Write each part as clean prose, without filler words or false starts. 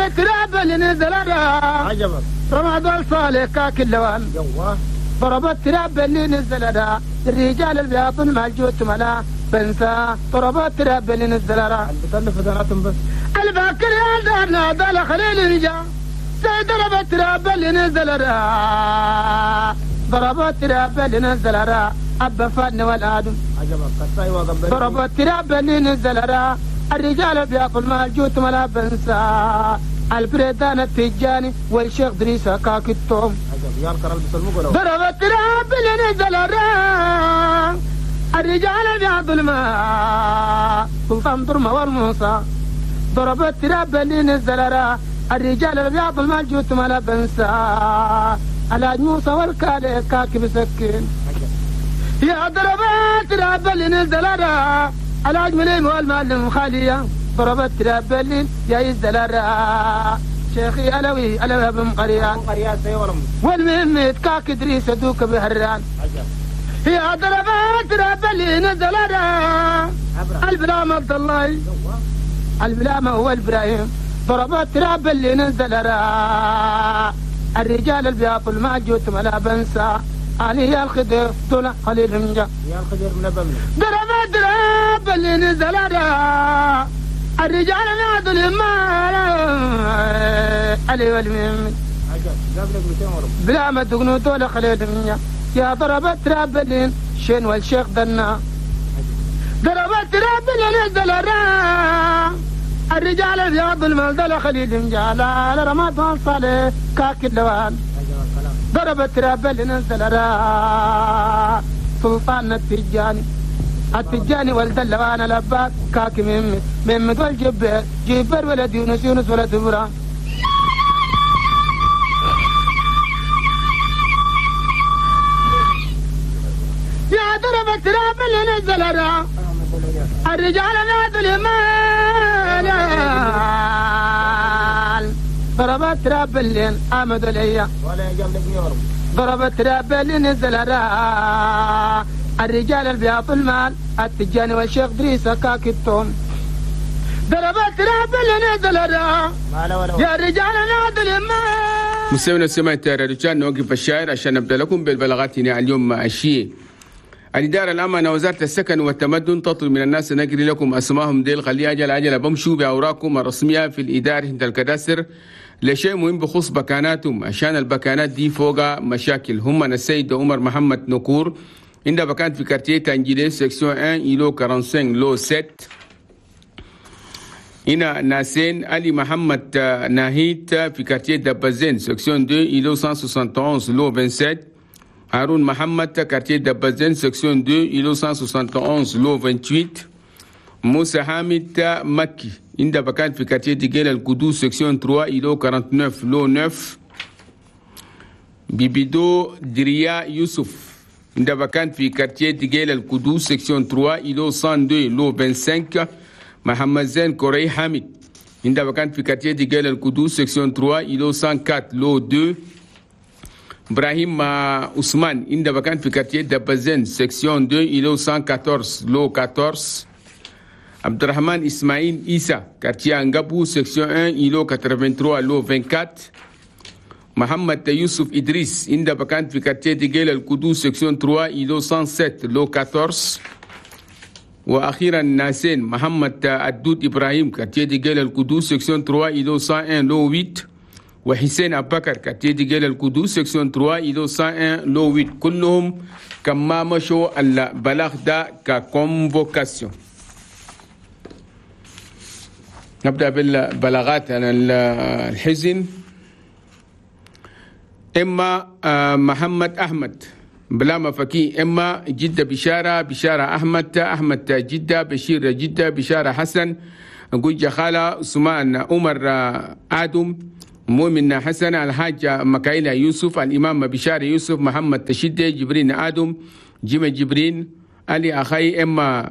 التراب اللي نزل عجبك رمضان صالح كاك اللوان ضرب التراب اللي نزل الرجال البياطن مع الجوت ملا بنسى ضرب التراب اللي نزل البتلف دناتهم بس الباكر يا دارنا دال خليل رجا ضرب التراب اللي نزل ضرب التراب اللي نزل أبا فن والآدم ضرب التراب اللي نزل الرجال بياكل مع الجوت ملا بنسى البريدان التجاني والشيخ دريسة كاك التوم ضرب التراب اللي نزل الرجال بياكل مع سلطان درمة والموسى ضرب التراب اللي نزل الرجال بياكل مع الجوت ملا بنسى الحاج موسى والكالي كاك بسكين يا ضربات تراب اللي نزل الحاج مليم والمعلم خالية ضربت تراب اللي يا يزل شيخي علوي علوي بن قريان والمهم كاك ادريس دوك بهران يا ضربات تراب اللي نزل البلام عبد الله البلام هو ابراهيم ضربات تراب اللي نزل الرجال البياطل ما جوت ملا بنسى علي يا الخدير دول خليل مجا يا الخدير من بمن ضرب ضرب اللي نزل الرجال ما دول ما علي والمهم بلا ما دقنو دول خليل مجا يا ضرب تراب اللي شين والشيخ دنا ضرب تراب اللي نزل الرجال البياض المال دول خليل مجا لا رمضان صالح كاك اللوان ضرب التراب اللي نزل سلطان التجاني التجاني ولد اللوان لباك كاك مم مم والجبر جبر ولد يونس يونس ولد ابراهيم يا ضرب التراب اللي نزل الرجال نادوا المال ضربت تراب اللي آمد الأيام ضربت تراب اللي نزل الرجال البياط المال التجاني والشيخ دريسة كاك التوم ضربت تراب اللي نزل يا الرجال نادوا المال. مستمعينا سمعت رجال نوقف الشاعر عشان نبدا لكم بالبلاغات هنا اليوم الشيء. الإدارة العامة وزارة السكن والتمدن تطلب من الناس نقري لكم أسمائهم ديل خلي أجل أجل بمشوا بأوراقكم الرسمية في الإدارة عند الكداسر لشيء مهم بخصوص بكاناتهم عشان البكانات دي فوق مشاكل. هم السيد عمر محمد نكور عند بكان في quartier تانجيلي section 1 îlot 45 lot 7. هنا ناسين علي محمد ناهيت في quartier دبازين section 2 îlot 171 lot 27. هارون محمد quartier دبازين section 2 îlot 171 lot 28. موسى حامد مكي عند بكان في quartier ديجيل القدوس section 3 îlot 49 lot 9. بيبيدو دريا يوسف عند بكان في quartier ديجيل القدوس section 3 îlot 102 lot 25. محمد زين كوري حامد عند بكان في quartier ديجيل القدوس section 3 îlot 104 lot 2. إبراهيم عثمان عند بكان في quartier دبازين section 2 îlot 114 lot 14. عبد الرحمن إسماعيل إيسا quartier أنغابو section 1 îlot 83 lot 24. محمد يوسف إدريس عند بكان في quartier ديجيل القدوس section 3 îlot 107 lot 14. وأخيرا ناسين محمد الدود إبراهيم quartier ديجيل القدوس section 3 îlot 101 lot 8. وحسين أبو بكر quartier ديجيل القدوس section 3 îlot 101 lot 8. كلهم كما مشوا البلاغ ده ك convocation. نبدأ بالبلاغات عن الحزن. إما محمد أحمد بلا مفكي، إما جدة بشارة، بشارة أحمد، أحمد جدة، بشير جدة، بشارة حسن، جوجة خالة، عثمان عمر آدم، مؤمن حسن، الحاج مكايلة يوسف، الإمام بشارة يوسف، محمد تشدي، جبرين آدم، جيم جبرين، علي أخي، إما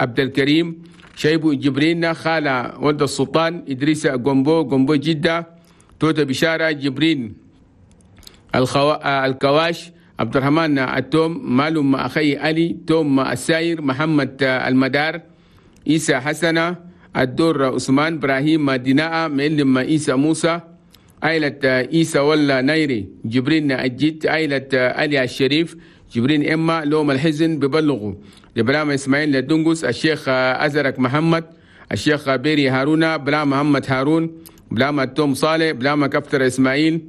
عبد الكريم، شيبو جبرين، خالة ولد السلطان، إدريس جومبو، جومبو جدة، توتا بشارة، جبرين الكواش، عبد الرحمن التوم، مالوم أخي علي، توم الساير، محمد المدار، إيسى حسنة، الدور عثمان إبراهيم ديناء معلم عيسى موسى، عائلة عيسى ولا نايري جبرين الجد، عائلة علي الشريف جبرين إما لوم الحزن ببلغوا لبرام إسماعيل لدنقس، الشيخ أزرق محمد، الشيخ بيري هارونا، بلا محمد هارون، بلا توم صالح، بلا كفتر إسماعيل،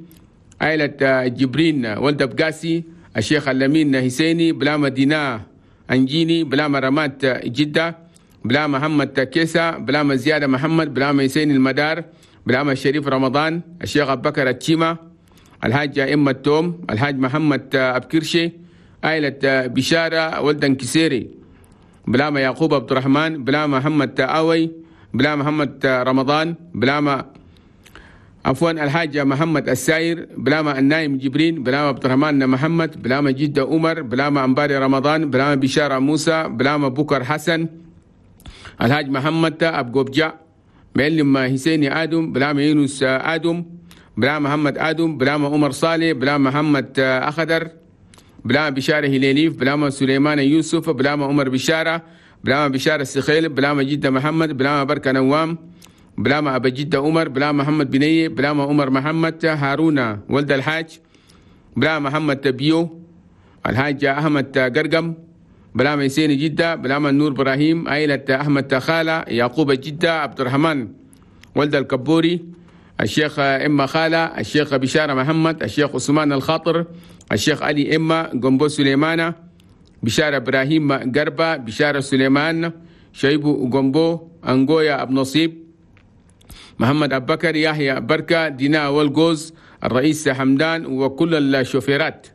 عائلة جبرين ولد بقاسي، الشيخ اللمين حسيني، بلا مدينة أنجيني، بلا رمات جدة، بلا محمد كيسا، بلا زيادة محمد، بلا حسين المدار، بلا الشريف رمضان، الشيخ أبو بكر التشيمة، الحاج إما التوم، الحاج محمد أبكرشي، عائلة بشارة ولد كسيري، بلا يعقوب عبد الرحمن، بلا محمد آوي، بلا محمد رمضان، بلا عفوا الحاج محمد الساير، بلاما النايم جبرين، بلاما عبد الرحمن محمد، بلاما جدة عمر، بلاما أنباري رمضان، بلاما بشارة موسى، بلاما بكر حسن، الحاج محمد أبقوبجا، معلم حسين آدم، بلاما يونس آدم، بلاما محمد آدم، بلاما عمر صالح، بلاما محمد أخضر، بلاما بشارة هليليف، بلاما سليمان يوسف، بلاما عمر بشارة، بلاما بشارة السخيل، بلاما جدة محمد، بلاما بركة نوام، بلاما أبا جدة عمر، بلاما محمد بنية، بلاما عمر محمد هارون ولد الحاج، بلاما محمد تبيو، الحاج أحمد قرقم، بلاما حسين جدة، بلاما النور إبراهيم، عائلة أحمد خالة، يعقوب جدة، عبد الرحمن ولد الكبوري، الشيخ إما خالة، الشيخ بشارة محمد، الشيخ عثمان الخاطر، الشيخ علي إما جنبو سليمانة، بشارة إبراهيم قربة، بشارة سليمان، شيبو جنبو، أنجويا أبو نصيب، محمد أبو بكر، يحيى بركة، دينا والجوز، الرئيس حمدان وكل الشوفيرات،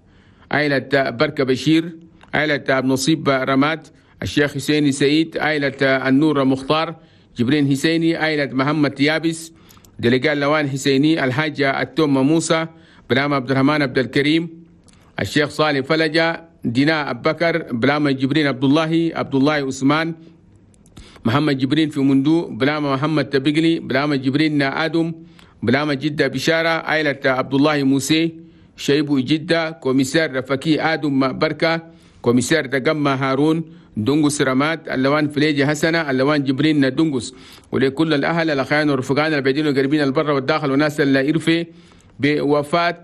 عائلة بركة بشير، عائلة أبو نصيب رماد، الشيخ حسيني سعيد، عائلة النور مختار، جبرين حسيني، عائلة محمد يابس، دلقال لوان حسيني، الحاجة التوم موسى، بلام عبد الرحمن عبد الكريم، الشيخ صالح فلجة، دينا أبو بكر، بلام جبرين عبد الله، عبد الله عثمان، محمد جبرين في مندو، بلام محمد تبقلي، بلام جبرين آدم، بلام جدة بشارة، عائلة عبد الله موسى، شيبو جدة، كوميسار فكي آدم بركة، كوميسار تجمع هارون، دنقس رماد، اللوان فليجي حسنة، اللوان جبرين دنقس. ولكل الأهل الأخيان والرفقان البعيدين والقريبين البر والداخل وناس اللي إرفي بوفاة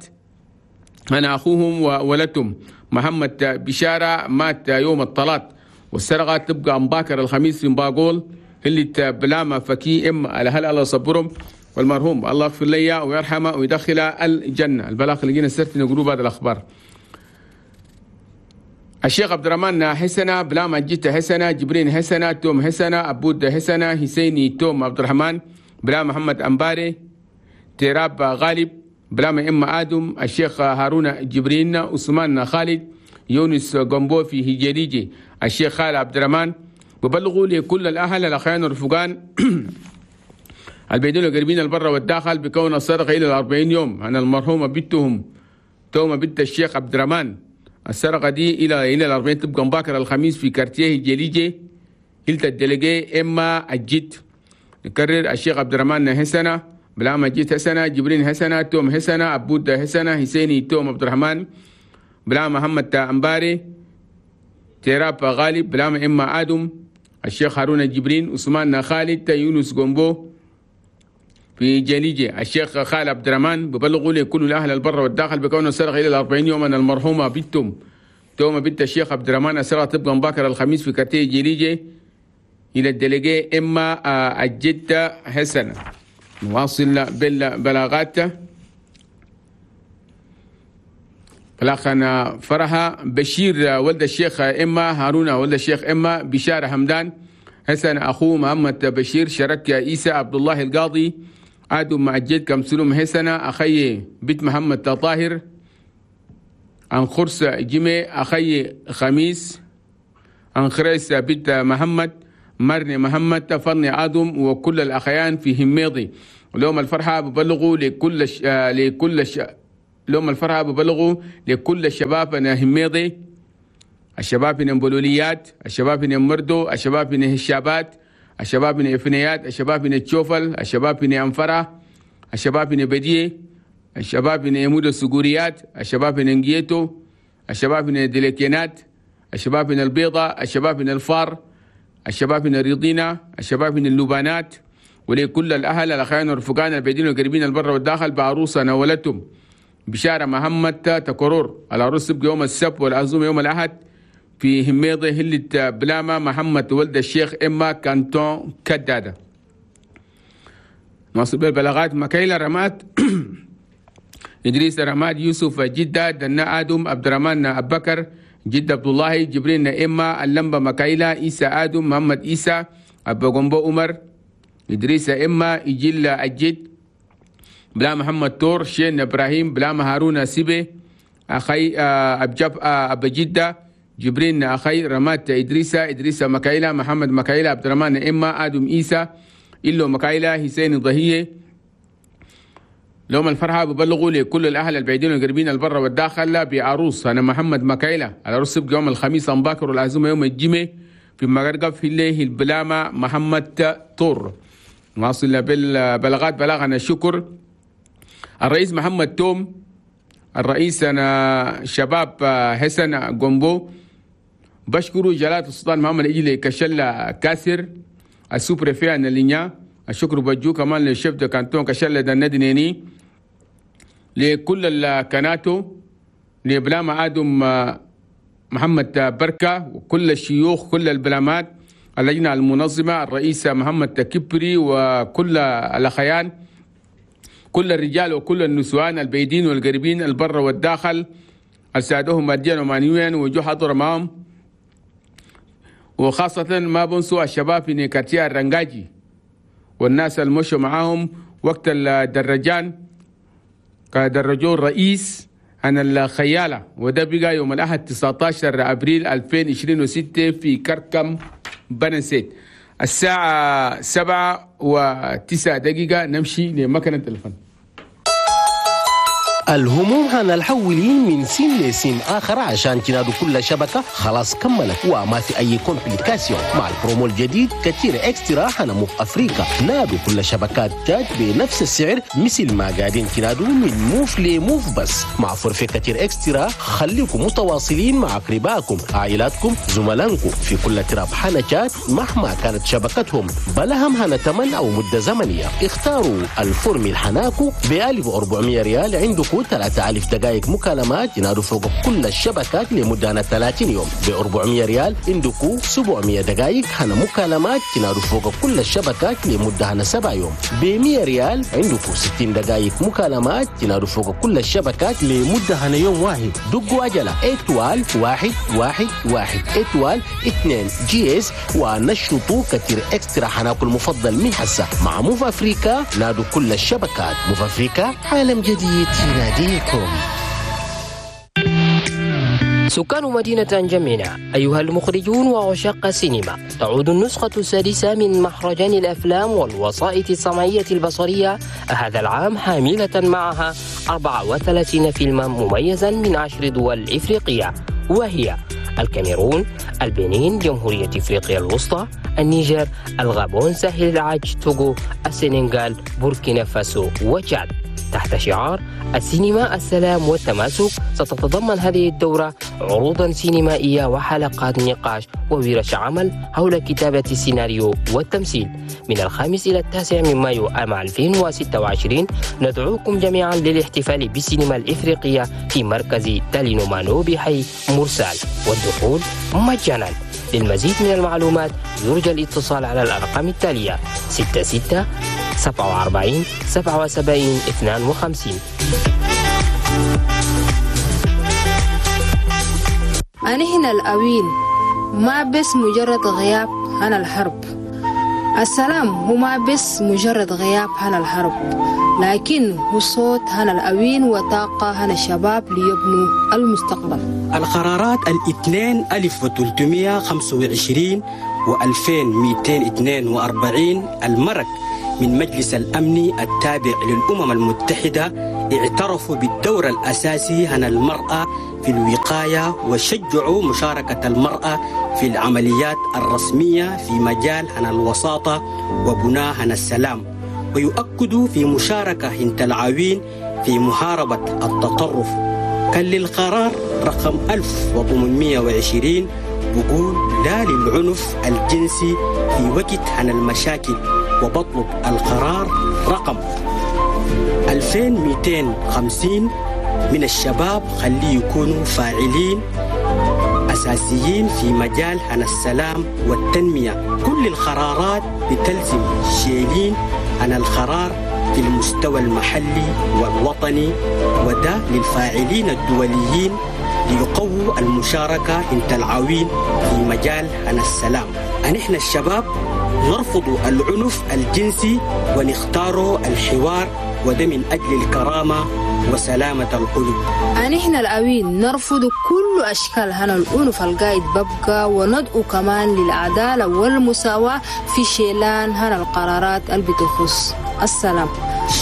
أنا أخوهم وولدتهم محمد بشارة، مات يوم الطلاق والسرقة تبقى مباكر الخميس في مباقول اللي بلاما فكي إم على هل الله صبرهم والمرحوم الله يغفر لي ويرحمه ويدخله الجنة. البلاغ اللي جينا سرت نقولوا بعد الأخبار. الشيخ عبد الرحمن حسنة، بلاما جيت حسنة، جبرين حسنة، توم حسنة، أبود حسنة، حسيني توم عبد الرحمن، بلا محمد أنباري، تيراب غالب، بلاما إما آدم، الشيخ هارون جبرين، عثمان خالد، يونس جنبو في هجريجي، الشيخ خالد عبد الرحمن. ببلغوا لكل الأهل الأخيان والرفقان البيدون القريبين البر والداخل بكون السرقة إلى 40 يوم عن المرحومة بنتهم تومة بنت الشيخ عبد الرحمن. السرقة دي إلى 40 تبقى مباكر الخميس في كارتيه جليجي هلت الدلجي إما الجد. نكرر الشيخ عبد الرحمن حسنة، بلاما جيت حسنة، جبرين حسنة، توم حسنة، أبود حسنة، حسيني توم عبد الرحمن، بلا محمد أنباري، تيراب غالب، بلا إما آدم، الشيخ هارون جبرين، عثمان خالد، يونس جنبو في جليجة، الشيخ خالد عبد الرحمن. ببلغوا لكل الأهل البر والداخل بكون السرقة إلى 40 يوما المرحومة بنتهم تومة بنت الشيخ عبد الرحمن. السرقة تبقى مباكر الخميس في كارتيه جليجة إلى الدلجة إما الجدة حسنة. نواصل بالبلاغات. بلاغنا فرحة بشير ولد الشيخ إما، هارون ولد الشيخ إما، بشارة حمدان، حسن أخوه محمد بشير، شرك عيسى عبد الله القاضي، آدم مع الجد كمسلوم حسنة، أخي بيت محمد طاهر، عن خرس جمي، أخي خميس، عن خريس بيت محمد، مرني محمد، فرني آدم، وكل الأخيان في هميضي. وليوم الفرحة ببلغوا لكل ش... لكل ش... لهم الفرحة ببلغوا لكل الشباب أنا هميضي، الشباب من بلوليات، الشباب من مردو، الشباب من هشابات، الشباب من إفنيات، الشباب من تشوفل، الشباب من أنفرة، الشباب من بديه، الشباب من يمود السجوريات، الشباب من انجيتو، الشباب من دليكينات، الشباب من البيضة، الشباب من الفار، الشباب من الريضينة، الشباب من اللبانات، ولكل الأهل الأخوان والرفقان البعيدين والقريبين البر والداخل بعروسة نولتهم بشارة محمد تكرور. العروس تبقى يوم السبت والعزومة يوم الأحد في هميضة هلة بلامة محمد ولد الشيخ إما كانتون كدادة. نواصل بالبلاغات. مكايلة رماد إدريس رماد، يوسف جدة، دنا آدم، عبد الرحمن أبو بكر، جد عبد الله، جبرين إما، اللمبة مكايلة، إيسى آدم، محمد إيسى، أبو جنبو عمر، إدريس إما، إجيل أجد، بلا محمد تور، شين إبراهيم، بلا هارون سيبي، أخي أبجب أبو جدة، جبرين أخي رمات إدريس، إدريس مكايلة، محمد مكايلة، عبد الرحمن إما، آدم إيسى، إلو مكايلة، حسين ضهية. لهم الفرحة ببلغوا لكل الأهل البعيدين والقريبين البر والداخل بعروس أنا محمد مكايلة. العروس يبقى يوم الخميس أمباكر والعزومة يوم الجمعة في مغرقة في الليل البلامة محمد طور. نواصل بالبلاغات. بلاغنا الشكر الرئيس محمد توم، الرئيس أنا شباب حسن جومبو، بشكره جلالة السلطان محمد إجلي كشلة كاسر ال sous-préfet أنا الشكر بجو كمان لل chef de canton كشلة دندنيني، لكل الكناتو، لبلامة آدم محمد بركة وكل الشيوخ كل البلامات، اللجنة المنظمة، الرئيس محمد تكبري وكل الأخيان، كل الرجال وكل النسوان البيدين والقريبين البر والداخل السادهم ماديا ومعنويا وجو حضر معهم، وخاصة ما بنسوا الشباب في نيكاتيا الرنجاجي والناس المشوا معاهم وقت الدرجان كدرجوا الرئيس عن الخيالة، وده بقى يوم الأحد 19 أبريل 2026 في كركم بنسيت الساعة 7:09. نمشي لمكنة الفن. الهموم هنالحولين من سين لسين آخر عشان تنادوا كل شبكة خلاص كملت وما في أي complication. مع البرومو الجديد كتير Extra هنا موف أفريقيا، نادوا كل شبكات تاج بنفس السعر مثل ما قاعدين تنادوا من موف لموف، بس مع forfait كتير Extra خليكم متواصلين مع أقربائكم عائلاتكم زملائكم في كل تراب حنا تشات مهما كانت شبكتهم، بلا هم هنا تمن أو مدة زمنية. اختاروا ال formule حناكو ب 1400 ريال، عندكم 3000 دقائق مكالمات ينادوا فوق كل الشبكات لمدة 30 يوم. ب 400 ريال عندكم 700 دقائق هنا مكالمات ينادوا فوق كل الشبكات لمدة هنا 7 يوم. ب 100 ريال عندكم 60 دقائق مكالمات ينادوا فوق كل الشبكات لمدة هنا يوم واحد. دقوا عجلة étoile 1 1 1 étoile 2 dièse ونشطوا كتير Extra حناكل المفضل من حسة مع موف أفريكا. نادوا كل الشبكات. موف أفريكا، عالم جديد يناديكم. سكان مدينة أنجمينا، أيها المخرجون وعشاق السينما، تعود النسخة السادسة من مهرجان الأفلام والوسائط السمعية البصرية هذا العام حاملة معها 34 فيلما مميزا من 10 دول إفريقية، وهي الكاميرون، البنين، جمهورية إفريقيا الوسطى، النيجر، الغابون، ساحل العاج، توغو، السنغال، بوركينا فاسو وتشاد. تحت شعار السينما السلام والتماسك، ستتضمن هذه الدورة عروضا سينمائية وحلقات نقاش وورش عمل حول كتابة السيناريو والتمثيل. من 5 إلى 9 من مايو عام 2026 ندعوكم جميعا للاحتفال بالسينما الإفريقية في مركز تالينومانو بحي مرسال، والدخول مجانا. للمزيد من المعلومات يرجى الاتصال على الأرقام التالية 66 47 77 52. أنا هنا الأوين ما بس مجرد غياب عن الحرب. السلام هو ما بس مجرد غياب عن الحرب، لكن هو صوت عن الأوين وطاقة عن الشباب ليبنوا المستقبل. القرارات 2325 و2242 المرك من مجلس الأمن التابع للأمم المتحدة اعترفوا بالدور الأساسي عن المرأة في الوقاية وشجعوا مشاركة المرأة في العمليات الرسمية في مجال عن الوساطة وبناء عن السلام، ويؤكدوا في مشاركة هنت العوين في محاربة التطرف. كان للقرار رقم 1820 البقول لا للعنف الجنسي في وقت عن المشاكل، وبطلب القرار رقم 2250 من الشباب خليه يكونوا فاعلين أساسيين في مجال عن السلام والتنمية. كل القرارات بتلزم شيلين عن القرار في المستوى المحلي والوطني، وده للفاعلين الدوليين ليقووا المشاركة انت العوين في مجال عن السلام. نحن الشباب نرفض العنف الجنسي ونختار الحوار، وده من أجل الكرامة وسلامة القلوب. نحن الأوين نرفض كل أشكال هنا العنف القايد ببقى، وندعو كمان للعدالة والمساواة في شيلان هنا القرارات اللي بتخص السلام.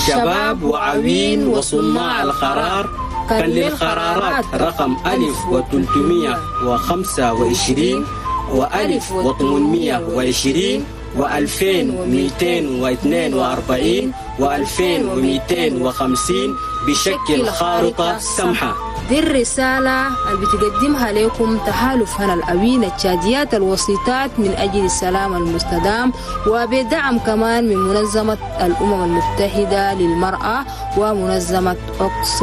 شباب وعوين وصناع القرار، كان للقرارات رقم 1325 و1820 و2242 و2250 بشكل خارطة سمحة. دي الرسالة اللي بتقدمها لكم تحالف هنا الأوين التشاديات الوسيطات من أجل السلام المستدام، وبدعم كمان من منظمة الأمم المتحدة للمرأة ومنظمة أوكسفام.